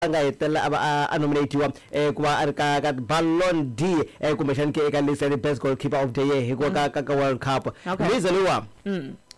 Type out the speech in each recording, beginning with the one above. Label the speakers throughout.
Speaker 1: A nga hetelela a va a nominatiwa ku va a ri ka ka Ballon d'Or kumbexani ke eka list ya the best goalkeeper of the year hikuva ka ka ka World Cup. Luiza loyiwa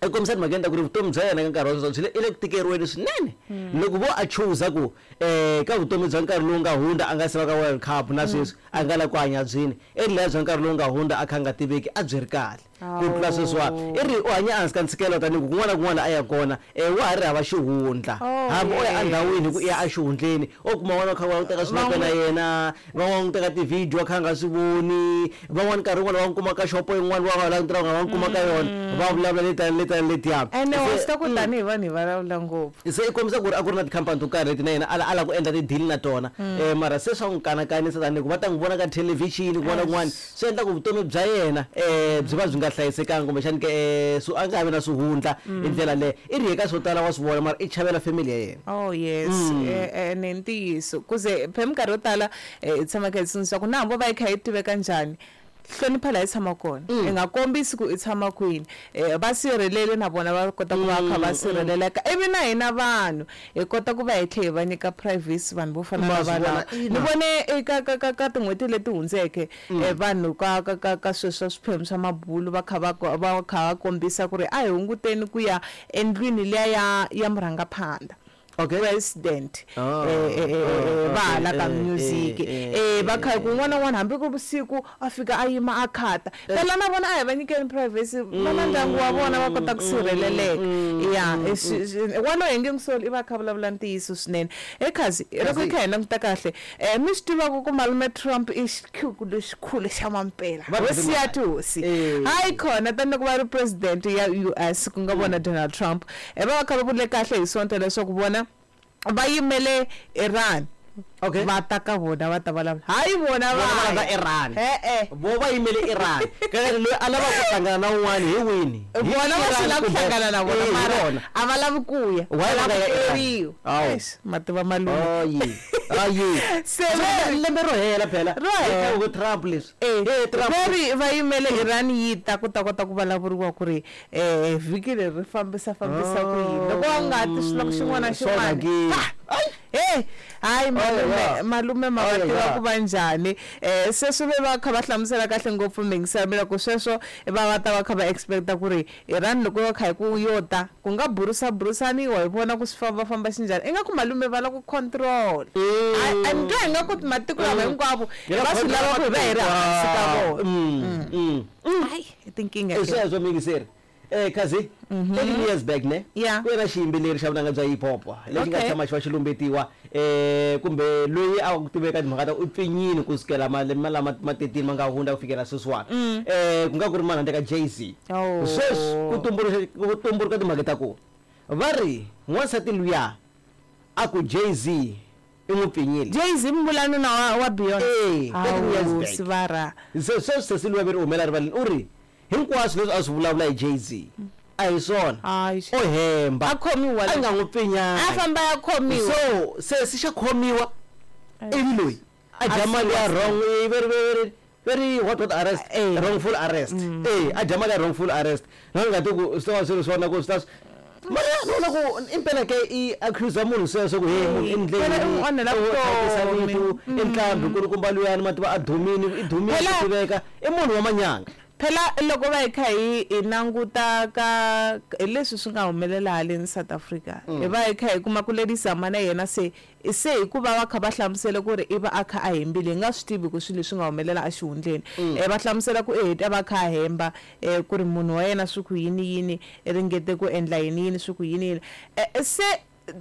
Speaker 1: i kombisa timhakeni ta ku ri vutomi bya yena ka nkarhi wa sweswi byi le i le ku tikeriweni swinene loko vo a chuza ku ka vutomi bya nkarhi lowu nga hundza a nga se va ka World Cup na sweswi a nga la ku hanya byini i ri leya bya nkarhi lowu nga hundza a kha a nga tiveki a byi ri kahle. Ku tlula sweswiwa, i ri u hanya ehansi ka ntshikelo tanihi ku kun'wana na kun'wana la a yaka kona, wa ha ri hava xihundla. Hambi o ya endhawini hi ku i ya exihundleni, o kuma van'wana va kha va lava ku teka swinepe na yena, van'wana va n'wi teka tivhidiyo a kha a nga swi voni, van'wana nkarhi wun'wana va n'wi kuma ka xopo yin'wana va nga langutela va n'wi kuma ka yona, va vulavula letiya ni letiya ni letiya.
Speaker 2: Ene wa swi tiva ku tanihi vanhu hi vulavula ngopfu.
Speaker 1: Se i kombisa ku ri a ku ri na tikhampani to karhi leti na yena a a lava ku endla ti-deal na tona, mara se swa n'wi kanakanisa tanihi ku va ta n'wi vona ka thelevhixini kun'wana na kun'wana. Swi endla ku vutomi bya yena byi va byi nga hlayisekanga kumbexani ke a nga ha vi na swihundla hi ndlela leyo. I ri eka swo tala wa swi vona mara i chavela family ya yena.
Speaker 2: Oh yes, ene i ntiyiso ku ze phe minkarhi yo tala hi tshama hi kha hi tsundzuxa ku na hambi wo va yi kha yi tiveka njhani hlonipha laha i tshamaka kona i nga kombisi ku i tshama kwini va sirheleli na vona va kota ku va kha va sirheleleka ivi na hina vanhu hi kota ku va hi tlhe hi va nyika privacy vanhu vo fana na valava ni vone eka ka ka ka tin'hweti leti hundzeke vanhu ka ka ka ka sweswo swiphemu swa mabulu va kha va va kha va kombisa ku ri a hi hunguteni ku ya endlwini liya ya ya murhangaphandha
Speaker 1: Okay.
Speaker 2: President va hala ka music va kha ku un'wana na un'wana hambi ku vusiku a fika a yima a khata phela na vona a hi va nyikeni privacy va na ndyangu wa vona va kota ku sirheleleka ya walowo hi nge n'wi soli i va a kha a vulavula ntiyiso swinene he khazi loko hi kha hi languta kahle mi swi tiva ku malume Trump i xikhuku lexikulu xa mampela hosi ya tihosi hayi khona tani loko va ri president ya U_S ku nga vona Donald Trump va va kha va vule kahle hi Sonto leswaku vona va yimele Iran
Speaker 1: Okay.
Speaker 2: Va ta ka vona va ta vulavula hayi vona
Speaker 1: va va lava Iran.
Speaker 2: E-e.
Speaker 1: Vo va yimele Iran. Kahle loyi a lavaka ku hlangana na un'wana hi wini?
Speaker 2: Vona va swi lava ku hlangana na vona mara a va lavi ku ya.
Speaker 1: Why va nga ya Iran?
Speaker 2: Eish, ma tiva malume.
Speaker 1: Ayi. Ayi.
Speaker 2: Se va
Speaker 1: lembe ro hela phela.
Speaker 2: Ro hela.
Speaker 1: Ku Trump leswi.
Speaker 2: Eh, Trump. Va ri va yimele Iran yi ta ku ta kota ku vulavuriwa ku ri eh vhiki leri ri fambisa fambisa ku yini. Loko va nga ti swi loko xin'wana na xin'wana. Hey, hayi malume malume ma va tiva ku va njhani sweswo ve va kha va hlamusela kahle ngopfu miyingisela mina ku sweswo va va ta va kha va expect-a ku ri Iran loko yo kha hi ku yo ta ku nga burusa burusaniwa hi vona ku swi famba famba xinjhani ingaku malume va lava ku control a ni twa ingaku matiko lama hinkwavo va swi lava ku hi va hi ri hansi ka vona hayi i tinkingha
Speaker 1: i sweswo miyingiseri Khazi 13 years back ne
Speaker 2: Yeah.
Speaker 1: ku ve na xiyimbeleri xa vunanga bya hip hop lexi nga
Speaker 2: Okay.
Speaker 1: tshama xi va xi lumbetiwa kumbe loyi a ku tiveka timhaka ta u pfinyini ku sukela malembe lama ma 13 ma nga hundza ku fikela sweswiwani ku nga ku ri manhandle ka Jay-Z.
Speaker 2: Oh.
Speaker 1: Sweswi ku tumbuluxa ku tumbuluka timhaka ta ku va ri n'wansati luya a ku Jay-Z i n'wi pfinyile.
Speaker 2: Jay-Z mi vula nuna wa wa Beyonce?
Speaker 1: Eh, 13 years
Speaker 2: Hawu
Speaker 1: back.
Speaker 2: sivara.
Speaker 1: Se sweswi sesi luya ve ri u humela rivaleni u ri Hinkwaswo leswi a swi vulavula hi Jay-Z a hi swona.
Speaker 2: Hayi.
Speaker 1: O hemba.
Speaker 2: A khomiwa
Speaker 1: A nga n'wi pfinyanga.
Speaker 2: A famba ya khomiwa.
Speaker 1: So sesi xa khomiwa ivi loyi a dya mali ya wrong very very very what what arrest
Speaker 2: Eh.
Speaker 1: wrongful arrest. Eh a dya mali ya wrongful arrest. Na nga ti ku swi ta va swi ri swona ku swi ta mara ni vona ku impela ke i accuse munhu sweswo ku hey munhu i ndleni
Speaker 2: Phela i n'wi onhela vutomi.
Speaker 1: vito i ntlambhi kulukumba luyani ma tiva a dumile i dumile
Speaker 2: Phela-
Speaker 1: ku tiveka i munhu wa manyanga.
Speaker 2: Phela loko va hi kha hi hi languta ka hi leswi swi nga humelela haleni South Africa hi va hi kha hi kuma ku Lady Zama na yena se se hikuva va kha va hlamusela ku ri i va a kha a hembile hi nga swi tivi ku swilo leswi nga humelela exihundleni va hlamusela ku i ta va a kha a hemba ku ri munhu wa yena swi ku yini yini i ringete ku endla yini yini swi ku yini yini se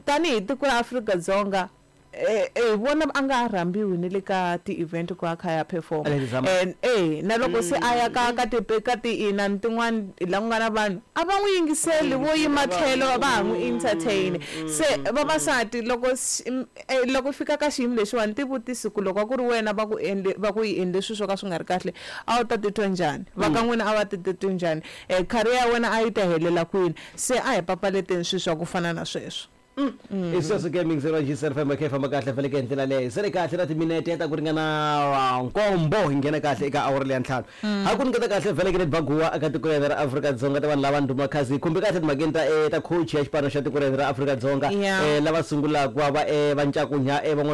Speaker 2: tanihi tiko ra Afrika-Dzonga Hi vona a nga ha rhambiwi ni le ka ti-event ku a kha a ya perform and e na loko se a ya ka ka ti ka ti-inani tin'wani la ku nga na vanhu a va n'wi yingiseli vo yima tlhelo va ha n'wi entertain se vavasati loko loko fika ka xiyimo lexiwani ti vutisi ku loko a ku ri wena va ku endle va ku yi endle swilo swo ka swi nga ri kahle a wu ta titwa njhani va ka n'wina a va ti titwi njhani career ya wena a yi ta helela kwini se a hi papalateni swilo swa ku fana na sweswo.
Speaker 1: I sweswo ke mixer wa GCR FM kha yi famba kahle faneke hi ndlela leyo se ri kahle na timinete ta ku ringana nkombo hi nghena kahle eka awara leya ntlhanu ha ku nyiketa kahle vhele ke ni baguwa eka tiko rena ra Afrika-Dzonga ta vanhu lava ndhuma khazi hi khumbi kahle timhakeni ta ta coach ya xipano xa tiko rena ra Afrika-Dzonga lava sungulaka ku va va va ncakunya van'wana.